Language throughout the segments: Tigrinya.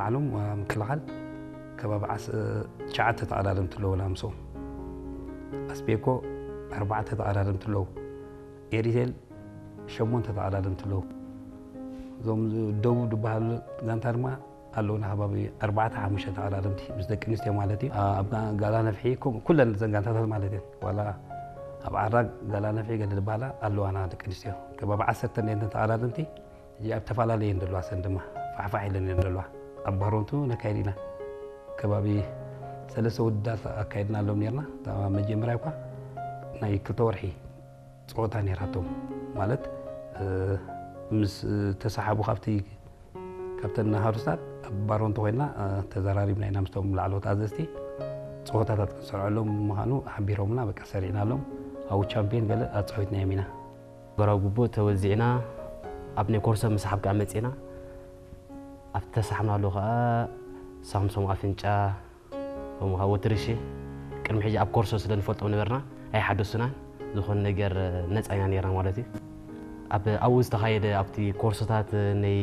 ዓለም ምክልኻል ከባቢ ዓስ- ትሽዓተ ተቐዳደምቲ ኣለዉ። ላምሶ ኣስቤኮ ኣርባዕተ ተቐዳደምቲ ኣለዉ። ኤሪቴል ሸሞንተ ተቐዳደምቲ ኣለዉ። እዞም ደቡብ ዝበሃሉ ጋንታ ድማ ኣለዉና ከባቢ ኣርባዕተ ሓሙሽተ ተቐዳደምቲ ምስ ደቂ ኣንስትዮ ማለት እዩ። ኣብ ጋ- ጋላ ነፍሒ ከም- ኩለን ዘን ጋንታታት ማለት እየን። ዋላ ኣብ ዓራግ ጋላ ነፍሒ ገለ ዝበሃላ ኣለዋና ደቂ ኣንስትዮ ከባቢ ዓሰርተ እየን ተቐዳደምቲ። ሕጂ ኣብ ተፈላለየ እየን ዘለዋ ሰን ድማ ፋሕፋሕ ኢለን እየን ዘለዋ። ኣብ ባሮንቱ ነካይድ ኢና ከባቢ ሰለስተ ውድዳት ኣካይድና ኣሎም ነርና። እታ መጀመርያ እኳ ናይ ክልተ ወርሒ ፀወታ ነራቶም ማለት ምስ ተሰሓቡ ካብቲ ካብተን ሃሩስታት ኣብ ባሮንቶ ኮይና ተዘራሪብና ኢና ምስቶም ላዕለዎት ኣዘዝቲ ፀወታታት ክንሰርዐሎም ምዃኑ ሓቢሮምና በቃ ሰሪዕናሎም ኣብኡ ቻምፒዮን ገለ ኣፀዊትናዮም ኢና። በራው ጉቦ ተወዚዕና ኣብ ናይ ኮርሶ ምስሓብ ከዓ መፂና ኣብቲ ተሳሕምናሉ ከዓ ሳምሶም ኣፍንጫ ከምኡ ከዓ ወትርሺ ቅድሚ ሕጂ ኣብ ኮርሶ ስለ ንፈልጦም ነበርና ኣይሓደሱናን ዝኾነ ነገር ነፃ ኢና ነርና ማለት እዩ። ኣብ ኣብኡ ዝተኻየደ ኣብቲ ኮርሶታት ናይ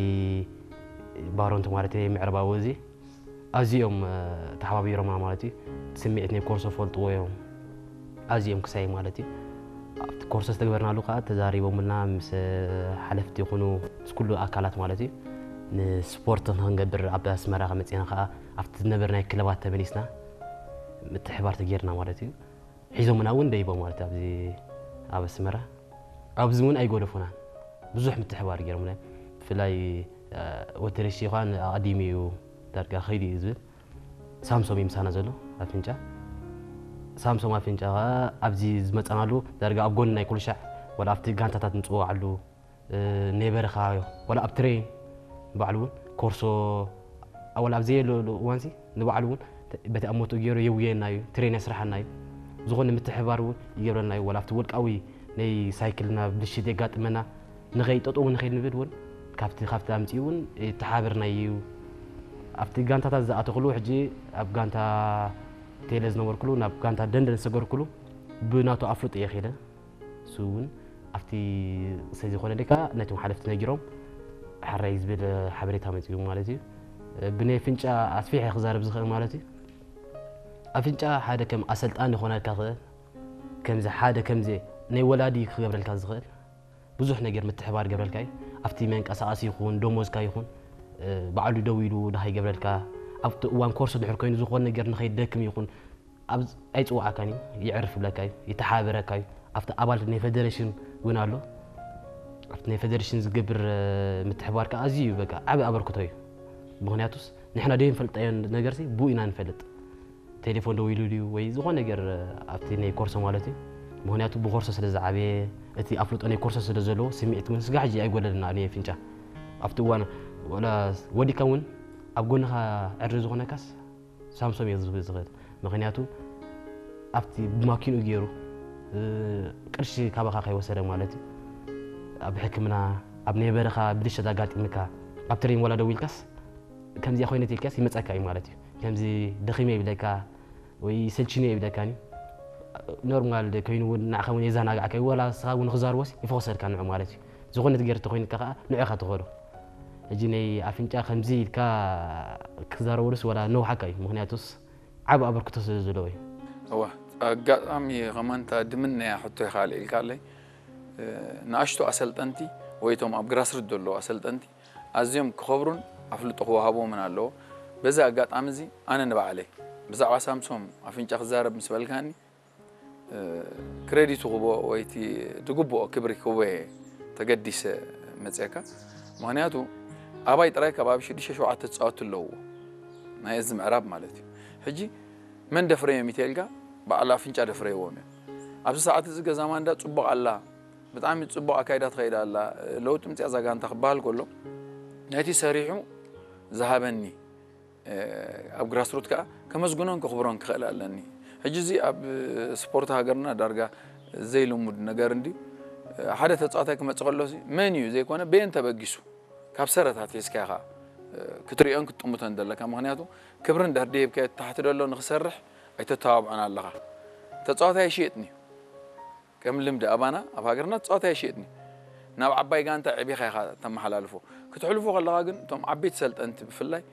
ባሮንት ማለት ናይ ምዕረባዊ እዚ ኣዚኦም ተሓባቢሮምና ማለት እዩ። ስምዒት ናይ ኮርሶ ፈልጥዎ እዮም ኣዚኦም ክሳይ ማለት እዩ። ኣብቲ ኮርሶ ዝተግበርናሉ ከዓ ተዛሪቦምልና ምስ ሓለፍቲ ይኹኑ ምስ ኩሉ ኣካላት ማለት እዩ። ንስፖርት ንክንገብር ኣብ ኣስመራ ከመፅና ከዓ ኣብቲ ዝነበር ናይ ክለባት ተመሊስና ምትሕባር ተጌርና ማለት እዩ። ሒዞምና እውን ደይቦም ማለት ኣብዚ ኣብ ኣስመራ ኣብዚ እውን ኣይጎደፉናን። ብዙሕ ምትሕባር ገይሮምና። ብፍላይ ወተረሺ ኳን ኣቐዲሙ እዩ ዳርጋ ከይዱ እዩ ዝብል ሳምሶም እዩ ምሳና ዘሎ ኣፍንጫ ሳምሶም ኣፍንጫ ከዓ ኣብዚ ዝመፀናሉ ዳርጋ ኣብ ጎኒ ናይ ኩልሻዕ ወላ ኣብቲ ጋንታታት ንፅወዓሉ ናይ በረኻ ወላ ኣብ ትሬን ባዕሉ እውን ኮርሶ ወላ ኣብ ዘየለሉ እዋንሲ ንባዕሉ እውን በቲ ኣብ ሞትኡ ገይሩ የውየና እዩ ትሬን የስርሓና እዩ ዝኾነ ምትሕባር እውን ይገብረና እዩ ወላ ኣብቲ ውልቃዊ ናይ ሳይክልና ብልሽት የጋጥመና ንኸይ ጠጠው ንኸይ ንብል እውን ካብቲ ካብቲ ኣምፅኡ እውን ይተሓበርና እዩ ኣብቲ ጋንታታት ዝኣተኽሉ ሕጂ ኣብ ጋንታ ቴለ ዝነበርኩሉ ናብ ጋንታ ደንደን ዝሰገርኩሉ ብናቱ ኣፍልጦ እየ ኸይደ እሱ እውን ኣብቲ ሰዚ ዝኾነ ደካ ነቶም ሓለፍቲ ነጊሮም ሓራይ ዝብል ሓበሬታ መፅኡ ማለት እዩ ብናይ ኣፍንጫ ኣስፊሐ ክዛረብ ዝኽእል ማለት እዩ ኣፍንጫ ሓደ ከም ኣሰልጣን ዝኾነልካ ክእል ከምዚ ሓደ ከምዚ ናይ ወላዲ ክገብረልካ ዝኽእል ብዙሕ ነገር ምትሕባር ገብረልካ እዩ ኣብቲ መንቀሳቐሲ ይኹን ደሞዝካ ይኹን ባዕሉ ደው ኢሉ ድሃ ይገብረልካ ኣብቲ እዋን ኮርስ ድሕር ኮይኑ ዝኾን ነገር ንኸይደክም ይኹን ኣይፅዋዕካን እዩ ይዕርፍ ይብለካ እዩ ይተሓበረካ እዩ ኣብቲ ኣባል ናይ ፌደሬሽን እውን ኣሎ ኣብቲ ናይ ፌደሬሽን ዝገብር ምትሕባር ከዓ ኣዝዩ እዩ በቃ ዓብ ኣበርክቶ እዩ ምክንያቱስ ንሕና ደይ ንፈልጠዮ ነገር ብኡ ኢና ንፈልጥ ቴሌፎን ደው ኢሉ ድዩ ወይ ዝኾነ ነገር ኣብቲ ናይ ኮርሶ ማለት እዩ ምክንያቱ ብኮርሶ ስለ ዝዓበየ እቲ ኣፍልጦ ናይ ኮርሶ ስለ ዘለዎ ስምዒት እውን ስጋ ሕጂ ኣይጎደልና ኣነ ፍንጫ ኣብቲ እዋን ወላ ወዲካ እውን ኣብ ጎንኻ ዕሪ ዝኾነካስ ሳምሶም እየ ዝብል ዝኽእል ምኽንያቱ ኣብቲ ብማኪንኡ ገይሩ ቅርሺ ካባኻ ከይወሰደ ማለት እዩ ኣብ ሕክምና ኣብ ናይ በረኻ ብልሸት ኣጋጢምካ ኣብ ትሬን ወላ ደው ኢልካስ ከምዚኣ ኮይነት ኢልካስ ይመፀካ እዩ ማለት እዩ ከምዚ ደኺመ ይብለካ ወይ ሰልችነ ይብለካኒ ኖርማል ኮይኑ እውን ንዓኻ እውን የዘናጋዕካ እዩ ወላ ስኻ እውን ክዛርቦስ ይፈኸሰልካ ንዑ ማለት እዩ ዝኾነት ገይር ተኮይንካ ከዓ ንዑኻ ትኸዶ ሕጂ ናይ ኣፍንጫ ከምዚ ኢልካ ክዛረበሉስ ወላ ነውሓካ እዩ ምክንያቱስ ዓብ ኣበርክቶ ስለ ዘለዎ እዩ እዋ ኣጋጣሚ ከማንታ ድምነያ ሕቶ ይኻል ኢልካ ኣለይ ንኣሽቱ ኣሰልጠንቲ ወይ ቶም ኣብ ግራስርት ዘለዉ ኣሰልጠንቲ ኣዝዮም ክኸብሩን ኣፍልጦ ክወሃቦምን ኣለዎ። በዚ ኣጋጣሚ እዚ ኣነ ንባዕለይ ብዛዕባ ሳምሶም ኣፍንጫ ክዛረብ ምስ በልካኒ ክሬዲቱ ክቦ ወይ እቲ ዝግብኦ ክብሪ ክቦ እየ ተገዲሰ መፅየካ። ምክንያቱ ኣባይ ጥራይ ከባቢ ሽዱሽተ ሸውዓተ ተፃወትቲ ኣለውዎ ናይ እዚ ምዕራብ ማለት እዩ። ሕጂ መን ደፍረዮም ይተልካ በዓል ኣፍንጫ ደፍረይዎም እዮም። ኣብዚ ሰዓት እዚ ገዛ ማንዳ ፅቡቕ ኣላ ብጣዕሚ ፅቡቕ ኣካይዳ ትኸይድ ኣላ ለውጢ ምፅያ እዛ ጋንታ ክበሃል ከሎ ነቲ ሰሪሑ ዝሃበኒ ኣብ ግራስሩት ከዓ ከመስግኖን ከኽብሮን ክኽእል ኣለኒ። ሕጂ እዚ ኣብ ስፖርት ሃገርና ዳርጋ ዘይልሙድ ነገር እንድዩ። ሓደ ተፃዋታይ ክመፅእ ከሎ መን እዩ ዘይኮነ በየን ተበጊሱ ካብ ሰረት ኣትሒዝካ ኢኻ ክትሪኦን ክትጥምቶን ዘለካ። ምክንያቱ ክብሪ እንድሕር ደይብካዮ ታሕቲ ደሎ ንክሰርሕ ኣይተተባብዖን ኣለኻ። ተፃዋታይ ኣይሽየጥን እዩ። ከም ልምዲ ኣባና ኣብ ሃገርና ተፃዋታይ ኣይሽየጥን እዩ። ናብ ዓባይ ጋንታ ዕቢኻ ኢኻ ተመሓላልፎ። ክትሕልፎ ከለኻ ግን እቶም ዓበይቲ ሰልጠንቲ ብፍላይ